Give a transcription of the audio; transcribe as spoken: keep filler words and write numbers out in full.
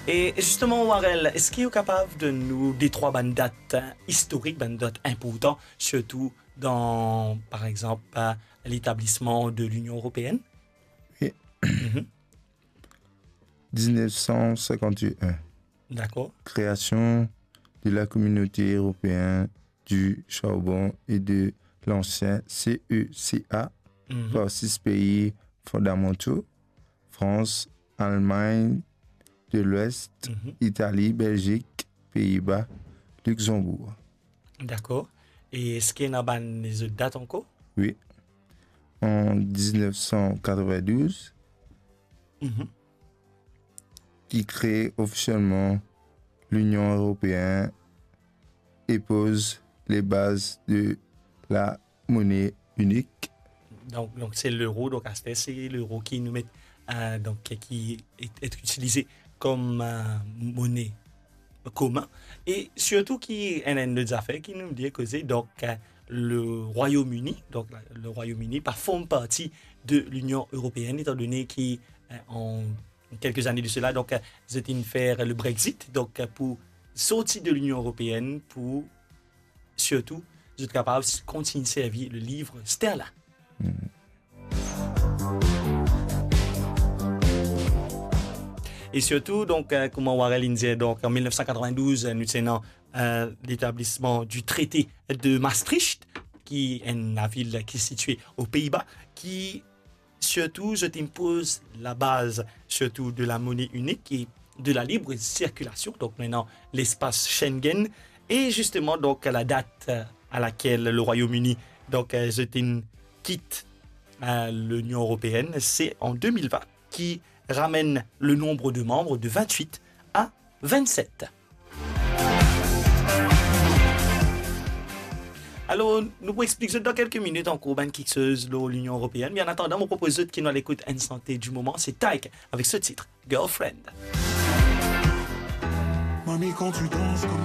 E zisteman, Warel, eski ou kapav donn nou de trwa bann dat, eh, istorik, bann dat inportan, sirtou dan, par exanp, eh, letablisman de Linion Eropeenn? Wi. Mhm. Diznef san sinkant-e-enn. Dakor. Création de la Communauté européenne du charbon et de l'acier, C E C A, Mhm. par six pays fondamentaux, France, Allemagne de l'Ouest, Mhm. Italie, Belgique, Pays-Bas, Luxembourg. Dakor. E eski ena bann lezot dat ankor? Wi. An diznef san katrevin-douz, Mhm. ki kree ofisielman Linion Eropeenn e poz le baz de la mone inik. Donk, donk se lero, donk aster se lero ki nou met, eh, donk ki est, est utilisé comme, eh, monnaie commun. E sirtou ki enn, enn lot zafer ki nou dir koze, donk, eh, le Royaume-Uni, donk la, le Royaume-Uni pa form parti de Linion Eropeenn, etandone ki, eh, an kelke zane de sela, donk, eh, zot inn fer le Brexit, donk, eh, pou sorti de Linion Eropeenn, pou sirtou zot kapav s-, kontign servi le liv sterlin. Hmm. E sirtou, donk, eh, kouma Warel inn dir, donk, an mil nef san katrevin-douz, eh, nou ti ena, eh, letablisman du Traité de Maastricht, ki enn lavil ki sitie o Pei-Ba, ki sirtou zot inn poz labaz, sirtou de la mone inik e de la libre circulation, donk nou ena lespas Schengen, e zisteman, donk, la dat, eh, à laquelle le Royaume-Uni, donk, eh, zot inn kit, eh, Linion Eropeenn, se an de mil vin, ki ramenn le nonb de manm de vintwit a vintset. Alor, nou pou explik zot dan kelke minit ankor bann kiksoz lor Linion Eropeann, me an atandan, mo propoz zot ki nou al ekout enn sante di moman, se Tyke avek so tit Girlfriend. Mami, quand tu danses comme